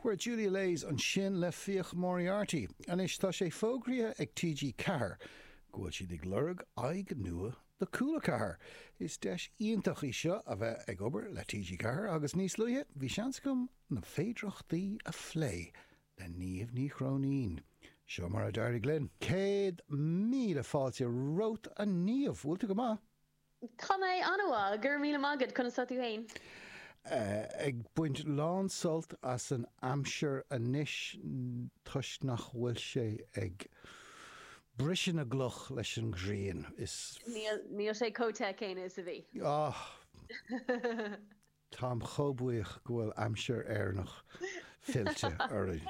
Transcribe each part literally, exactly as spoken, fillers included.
Where Julia Lays ansin le Fiach Moriarty. Anois tá sé fógraithe ag TG Ceathair go bhfuil siad ag lorg aghaidh nua do Cúla Ceathair. Is deis iontach í seo a bheith ag obair le TG Ceathair agus níos luaithe bhí seans agam na féidearthachtaí a phlé le Niamh Ní Chróinín. Seo mar a d'éirigh linn. Céad míle fáilte romhat a Niamh, bhfuil tú go maith? Tá mé an-mhaith, go raibh míle maith agat, conas tá tú féin? Ag baint lán sult as an aimsir anois toisc nach bhfuil sé ag briseadh na gcloch leis an ghrian. Is. Níl, níl sé chomh te céanna is a bhí. Ah! Táim chomh buíoch go bhfuil aimsir Éireannach fillte orainn.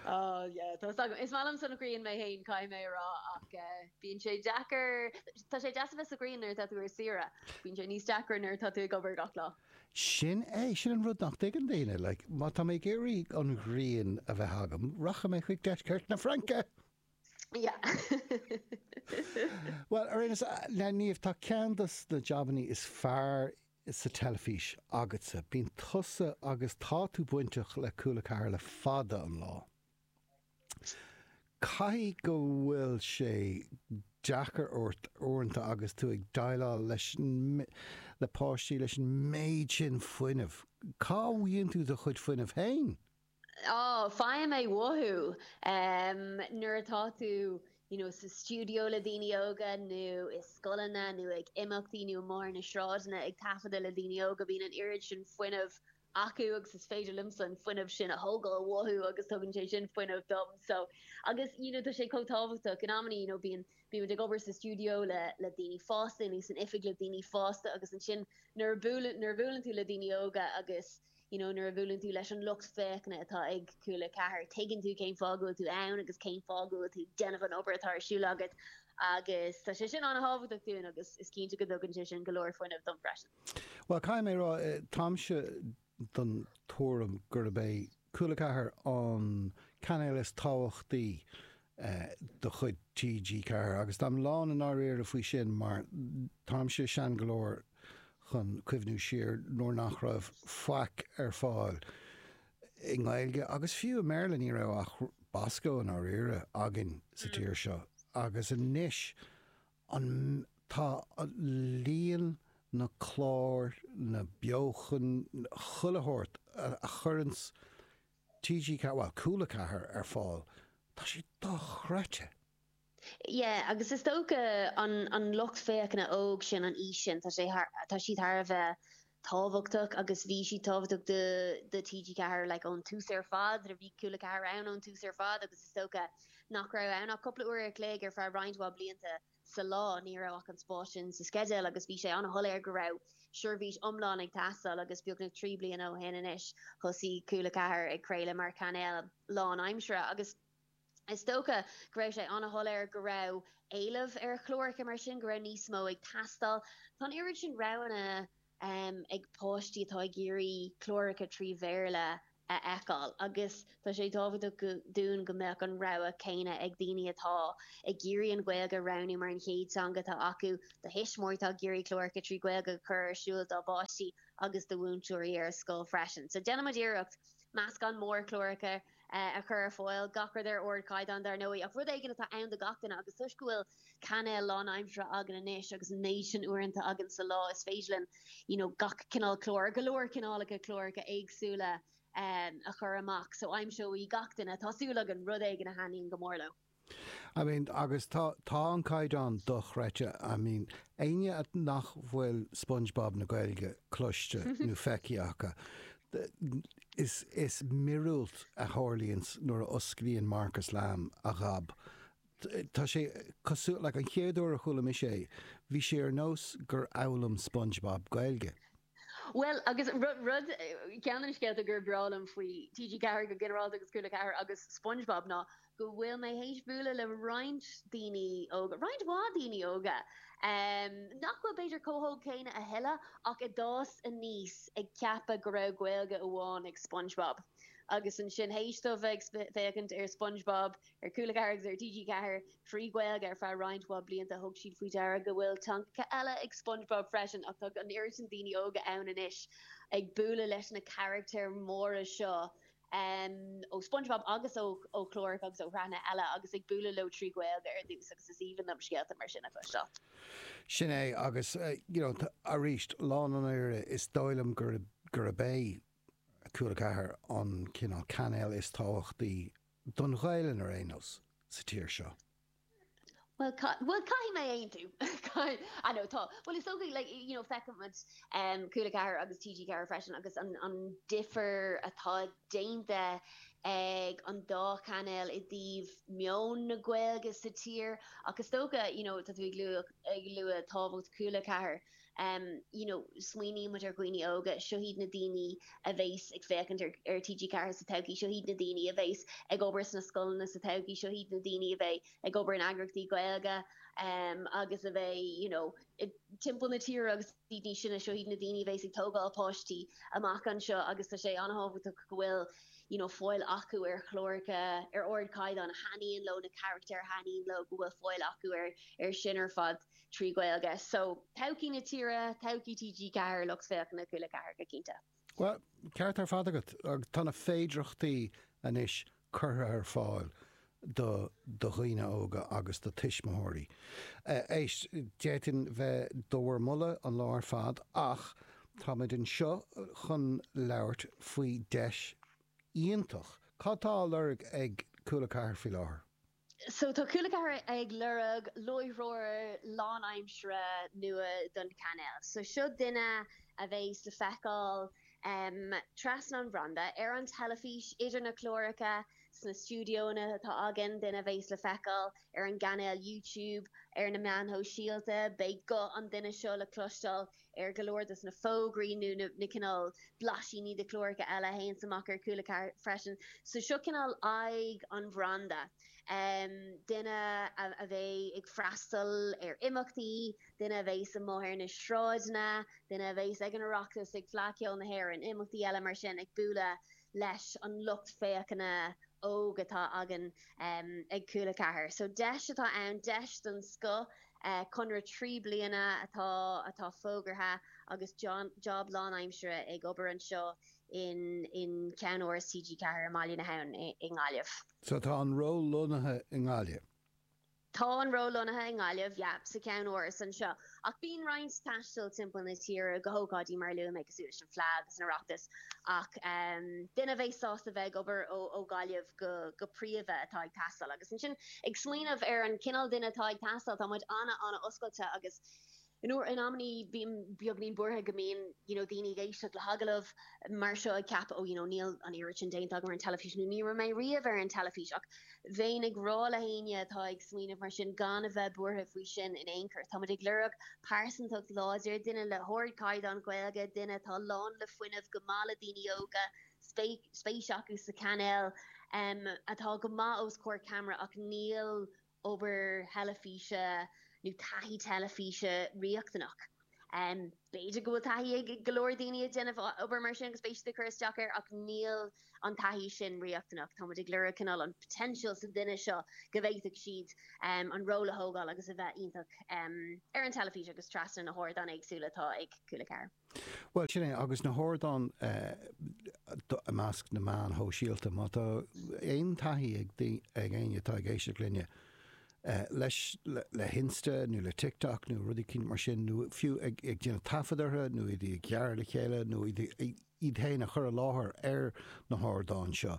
Oh yeah, tá agam. Is maith liomsa an ghrian mé féin, caithfidh mé a rá, ach bíonn sé deacair, tá sé deas a bheith sa ghrian nuair atá tú ar saoire, bíonn sé níos deacra nuair atá tú ag obair gach lá. Sin é, sin an rud nach dtuigeann daoine, like, má tá mé ag iarraidh an ghrian a bheith agam, rachaidh mé chuig deisceart na Fraince! Yeah. Bhuel, ar aon nós, a Niamh, tá ceann de na jabannaí is fearr sa teilifís agatsa. Bíonn tusa agus tá tú bainteach le Cúla Ceathair le fada an lá. Caithfidh go bhfuil sé deacair ort uaireanta agus tú ag déileáil leis le páistí leis an méid sin fuinnimh. Cá bhfaigheann tú do chuid fuinnimh féin? Á, faighim é uathu. Nuair atá tú you know, sa stiúideo le daoine óga nó i scoileanna nó ag imeachtaí nó amuigh ar na sráideanna ag taifeadadh le daoine óga, bíonn an oiread sin fuinnimh acu agus is féidir liomsa an fuinneamh sin a thógáil uathu agus tugann sé sin fuinneamh dom. So, agus you know, tá sé chomh tábhachtach in amanna, you know, bíonn bímid ag obair sa stiúideo le le daoine fásta nó san oifig le daoine fásta agus ansin nuair a buaileann nuair a bhuaileann tú le daoine óga agus you know, nuair a bhuaileann tú leis an lucht féachana atá ag Cúla Ceathair, tuigeann tú cén fáth go bhfuil tú ann agus cén fáth go bhfuil tú déanamh an obair atá ar siúl agat agus tá sé sin an-tábhachtach dúinn agus is cinnte go dtugann sé sin go leor fuinnimh dom freisin. Bhuel, caithfidh mé a rá, táimse den tuairim gurb é Cúla Ceathair an cainéal is tábhachtaí de chuid TG Ceathair agus táim lán i ndáiríre faoi sin mar táimse sean go leor chun cuimhniú siar nuair nach raibh faic ar fáil i nGaeilge agus fiú i mBéarla ní raibh ach Bosco i ndáiríre againn sa tír seo agus anois an tá líon na clár, na beochan, chuile shórt a chuireanns TG Ceathair, bhuel Cúla Ceathair ar fáil, tá sé dochreidte. Yeah, agus is dócha an an lucht féachana óg sin, an aois sin, tá sé thar, tá siad thar a bheith tábhachtach agus bhí siad tábhachtach do do TG Ceathair like ón tús ar fad, bhí Cúla Ceathair ann ón tús ar fad agus is dócha nach raibh ann ach cúpla uair a chloig ar feadh roinnt mhaith blianta sa lá, ní raibh ach an spás sin sa sceideal agus bhí sé an-shoiléir go raibh seirbhís iomlán ag teastáil agus beagnach trí bliana ó shin anois thosaigh Cúla Ceathair ag craoladh mar chainéal lánaimseartha agus is dócha go raibh sé an-shoiléir go raibh éileamh ar chláracha mar sin, go raibh níos mó ag teastáil. Tá an oiread sin roghanna ag páistí atá ag iarraidh cláracha trí Bhéarla a fheiceáil agus tá sé tábhachtach dúinn go mbeadh an rogha céanna ag daoine atá ag iarraidh an Ghaeilge a roghnú mar an chéad teanga atá acu, do thuismitheoirí atá ag iarraidh cláracha trí Ghaeilge a chur ar siúl dá bpáistí agus do mhúinteoirí ar scoil freisin. So déanaimid iarracht meascán mór cláracha a chur ar fáil, gach rud ar ardchaighdeán dar ndóigh, ach rud éigin atá ann do gach duine agus toisc go bhfuil cainéal lánaimseartha againn anois agus an méid sin uaireanta againn sa lá is féidir linn you know gach cineál clár, go leor cineálacha cláracha éagsúla a chur amach so aimseoidh gach duine, tá súil againn, rud éigin a thaitníonn go mór leo. I mean, agus tá, tá an caighdeán dochreidte, I mean, éinne nach bhfuil SpongeBob na Gaeilge cloiste nó feicthe acu, is, is míorúilt a tharlaíonns nuair a osclaíonn Marcus Lamb a ghob. Tá sé cosúil, like, an chéad uair a chuala mise é, bhí sé ar nós gur fhoghlaim SpongeBob Gaeilge. Bhuel, agus rud, rud, ceann de na scéalta gur breá liom faoi TG Ceathair go ginearálta agus Cúla Ceathair agus SpongeBob ná go bhfuil mé théis bualadh le roinnt daoine óga, roinnt mhaith daoine óga, nach bhfuil b'fhéidir chomh hóg céanna a thuilleadh ach a d'fhás aníos ag ceapadh go raibh Gaeilge amháin ag SpongeBob. Agus ansin théis dóibh bheith ag féachaint ar SpongeBob ar Cúla Ceathair agus ar TG Ceathair trí Ghaeilge ar feadh roinnt mhaith blianta, thug siad faoi deara go bhfuil teangacha eile ag SpongeBob freisin ach tá an oiread sin daoine óga ann anois ag bualadh leis na carachtair móra seo um, ó SpongeBob agus ó ó chláracha agus ó shraitheanna eile agus ag bualadh leo trí Ghaeilge ar dtús agus is aoibhinn liom scéalta mar sin a chloisteáil. Sin é agus uh, you know, arís lán an aire is dóigh liom gur gurb é Cúla Ceathair an cineál cainéal is tábhachtaí don Ghaeilge ar aon nós sa tír seo. Well, well caithfidh mé aontú I know tá well is okay like you know feicimid um Cúla Ceathair agus TG Ceathair freisin agus an an difear atá déanta ag an dá chainéal i dtaobh meon na Gaeilge sa tír ach is dócha you know tá tú ag lua ag lua tábhacht Cúla Ceathair um you know smaoinímid ar dhaoine óga seo iad na daoine a bheas ag féachaint ar, ar TG Ceathair sa todhchaí seo iad na daoine a bheas ag obair sna scoileanna sa todhchaí seo iad na daoine a bheidh ag obair in eagraíochtaí Gaeilge um, agus a bheidh you know, timpeall na tíre agus daoine sinna seo iad na daoine a bheas ag tógáil páistí amach anseo agus tá sé an-tábhachtach go bhfuil you know, fáil acu ar chláracha ar ardchaighdeán a thaitníonn leo na carachtair a thaitníonn leo go bhfuil fáil acu ar ar sin ar fad trí Ghaeilge. So todhchaí na tíre todhchaí TG Ceathair lucht féachana Cúla Ceathair go cinnte. Well, ceart ar fad agat tá na féidearthachtaí anois curtha ar fáil do do dhaoine óga agus do tuismitheoirí. Éist d'fhéadfainn bheith do bhur moladh an lá ar fad ach táimid anseo chun labhairt faoi deis iontach. Cad tá á lorg ag Cúla Ceathair faoi láthair? So tá Cúla Ceathair ag lorg láithreoir lánaimseartha nua don chainéal. So seo duine a bheas le feiceáil um, trasna an bhranda ar an teilifís idir na cláracha sna stiúideonna atá againn duine a bheas le feiceáil ar an gcainéal YouTube ar na meáin shóisialta, beidh guth an duine seo le cloisteáil ar go leor des na fógraí nó na, na cineál blaisíní de chláracha eile a théann amach ar Cúla Ceathair freisin. So seo cineál aghaidh an bhranda. Um, duine a, a bheidh ag freastal ar imeachtaí, duine a bheas amuigh ar na sráideanna, duine a bheas ag an Oireachtas ag Fleadh Cheoil na hÉireann, imeachtaí eile mar sin ag bualadh leis an lucht féachana óg atá againn um, ag Cúla Ceathair. So deis atá ann deis den scoth uh, conradh trí bliana atá atá fógartha agus John, job lánaimseartha ag obair anseo in in ceannáras TG Ceathair i mBaile na hAbhann i, i nGaillimh. So tá an ról lonnaithe i nGaillimh. Tá an ról lonnaithe i nGaillimh yeah, sa cheannáras anseo. Ach bíonn roinnt taistil timpeall na tíre go hócáidí mar luaigh mé cosúil leis an Fleadh agus an Oireachtas ach um, duine bheidh sásta bheith ag obair ó, ó Gaillimh go, go príomha atá ag teastáil agus ansin ag smaoineamh ar an cineál duine atá ag teastáil tá muid ana ana oscailte agus in uair in amannaí bím beagáinín buartha go mbíonn you know, daoine ag éisteacht le hagallamh mar seo ag ceapadh ó you know, níl an oiread sin déanta agam ar an teilifís nó ní raibh mé riamh ar an teilifís ach bheinn ag rá le héinne atá ag smaoineamh mar sin gan a bheith buartha faoi sin in aon chor. Táimid ag lorg pearsantacht láidir duine le hardchaighdeán Gaeilge duine atá lán le fuinneamh go maith le daoine óga spéis acu sa chainéal um, atá go maith os comhair ceamara ach níl obair theilifíse nó taithí teilifíse riachtanach. Um, B'fhéidir go bhfuil taithí ag go leor daoine ag déanamh obair mar sin agus b'fhéidir cur isteach air ach níl an taithí sin riachtanach. Táimid ag lorg cineál an potential sa duine seo go bhféadfadh siad um, an ról a thógáil agus a bheith iontach um, ar an teilifís agus trasna na hardáin éagsúla atá ag Cúla Ceathair. Well sin é agus na hardáin i measc na meáin shóisialta má tá aon taithí ag ag éinne atá ag éisteacht linne. Uh, leis le, le hInsta nó le TikTok nó rudaí cinn mar sin nó fiú ag, ag déanamh taifead orthu nó iad ag gearradh le chéile nó iad iad féin a chur i láthair ar na hardáin seo.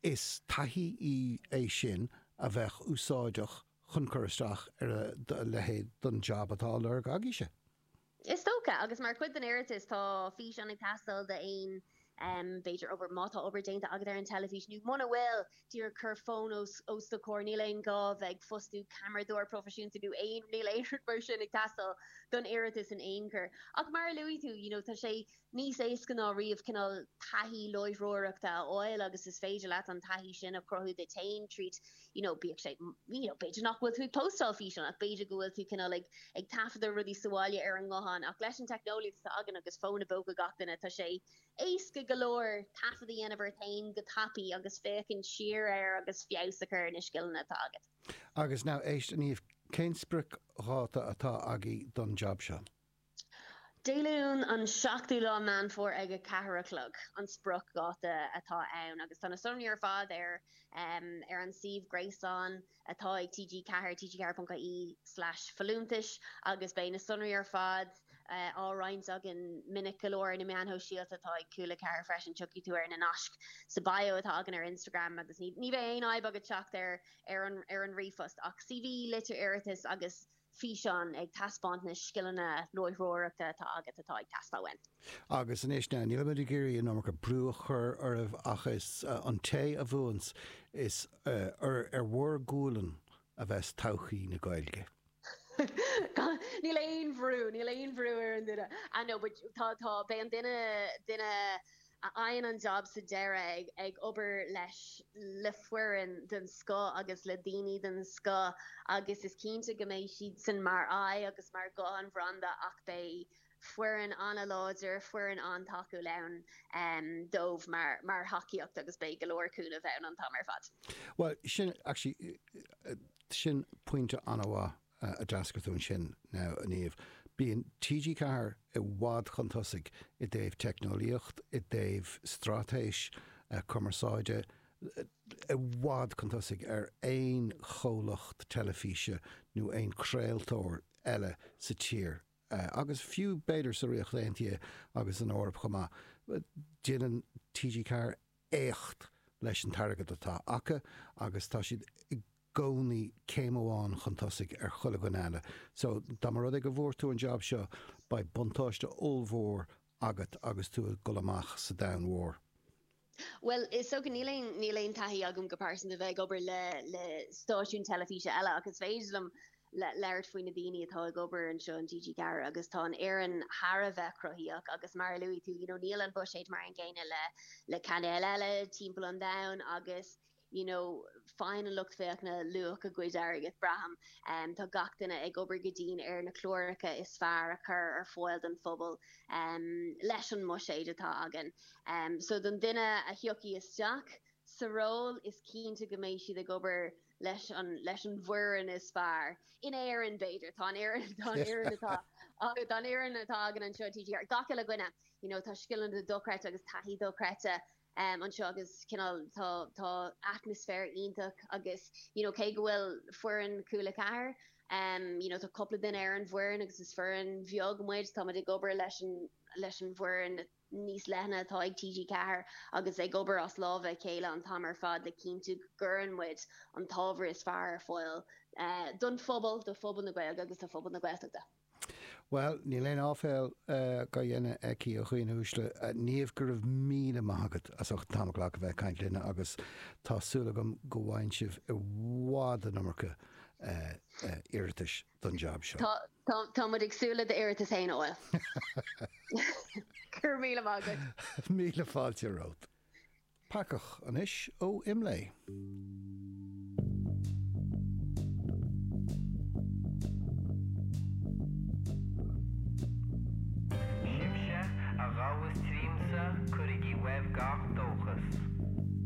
Is taithí í é sin a bheith úsáideach chun cur isteach ar a leithéid don job atá á lorg agaibhse. Is dócha agus mar chuid den iarratas tá físeán ag teastáil de aon um, b'fhéidir obair má tá obair déanta agat ar an teilifís nó muna bhfuil díreach cur fón os os do chomhair níl aon gá bheith fostú ceamaradóir proifisiúnta nó aon níl aon rud mar sin ag teastáil don iarratas in aon chor. Ach mar a luaigh tú you know, tá sé níos éasca ná riamh cineál taithí láithreoireachta a fháil agus is féidir leat an taithí sin a chruthú duit féin tríd you know, bíodh sé you know, b'fhéidir nach bhfuil tú ag postáil físeán ach b'fhéidir go bhfuil tú cineál ag ag taifeadadh rudaí sa bhaile ar an nguthán ach leis an teicneolaíocht atá againn agus fón i bpóca gach duine tá sé éasca go leor taifead a dhéanamh ort féin go tapaidh agus féachaint siar air agus feabhas a chur na scileanna atá agat. Agus now éist Niamh cén spriocdháta atá agaibh don job seo. Dé Luain an seachtú lá Meán Fómhair ag a ceathair a chlog an spriocdháta atá ann agus tá na sonraí ar fad ar ar an suíomh gréasáin atá ag T G Ceathair, T G ceathair ponc I E slash folúntais, agus beidh na sonraí ar fad á roinnt againn minic go leor ar na meáin shóisialta atá ag Cúla Ceathair freisin. Tiocfaidh tú ar na naisc sa bio atá againn ar Instagram agus ní ní bheidh aon fhadhb agat teacht ar ar an ar an ríomhphost ach C V, litir iarratais agus físeán ag taispeáint na scileanna láithreoireachta atá agat atá ag teastáil uainn. Agus anois ná nílimid ag iarraidh an iomarca brú a chur oraibh ach is uh, an té a bhuanns is uh, ar, ar bhur gcualann a bheas todhchaí na Gaeilge. Níl aon bhrú, níl aon bhrú ar an duine. Ah no, but tá tá beidh an duine duine a fhaigheann an job sa deireadh ag ag obair leis le foireann den scoth agus le daoine den scoth agus is cinnte go mbeidh siad sin mar aghaidh agus mar ghuth an bhranda ach beidh foireann an-láidir, foireann an-tacúil ann um, dóibh mar mar thacaíocht agus beidh go leor cúnamh ann an t-am ar fad. Well, sin actually sin pointe an-mhaith a d'eascair tú ansin now a Niamh. Bíonn T G Ceathair i bhfad chun tosaigh i dtaobh teicneolaíocht, i dtaobh straitéis uh, cumarsáide, i bhfad chun tosaigh ar aon chomhlacht teilifíse nó aon chraoltóir eile sa tír. Uh, agus fiú b'fhéidir sa Ríocht Aontaithe agus an Eoraip chomh maith. Déanann T G Ceathair éacht leis an t-airgead atá acu agus tá siad i gcónaí céim amháin chun tosaigh ar chuile dhuine eile. So dá mba rud é go bhfuair tú an job seo beidh buntáiste ollmhór agat agus tú ag dul amach sa domhan mhór. Well, is so níl aon níl aon taithí agam go pearsanta bheith ag obair le le stáisiún teilifíse eile agus féidir liom le labhairt faoi na daoine atá ag obair anseo in T G Ceathair agus tá an fhoireann thar a bheith cruthaitheach agus mar a luaigh tú, you know, níl an buiséad mar an gcéanna le le cainéil eile timpeall an domhain agus you know, faigheann an lucht féachana luach a gcuid airgid braithim. Um, tá gach duine ag obair go dian ar na cláracha is fearr a chur ar fáil don phobal um, leis an mbuiséad atá againn. Um, so don duine a thiocfaidh isteach sa ról is cinnte go mbeidh siad ag obair leis an leis an bhfoireann is fearr. In Éirinn b'fhéidir tá Éirinn tá Éirinn atá tá Éirinn atá againn anseo T G gach uile dhuine you know, tá scileanna dochreidte agus taithí dochreidte um, anseo agus cineál tá tá atmaisféar iontach agus you know, cé go bhfuil foireann Cúla Ceathair um, you know, tá cúpla duine ar an bhfoireann agus is foireann bheag muid tá ag obair leis an leis an bhfoireann níos leithne atá ag T G Ceathair agus ag obair as lámha a chéile an t-am ar fad le cinntiú go gcuireann muid an t-ábhar is fearr ar fáil uh, don phobal do phobal na Gaeilge agus do phobal na Gaeltachta. Well, níl aon áiféil uh, á dhéanamh aici a dhaoine uaisle uh, Niamh go raibh míle maith agat as ucht tamall a ghlacadh bheith caint linne agus tá súil agam go bhfaighidh sibh i bhfad an iomarca uh, uh, iarratais don job seo. Tá tá tá muid ag súil le d'iarratas féin óil. Go raibh míle maith agat. Míle fáilte romhat. Peacach anois ó Imlé. Sibhse a ghabhas tríomsa cuirigí uaibh gach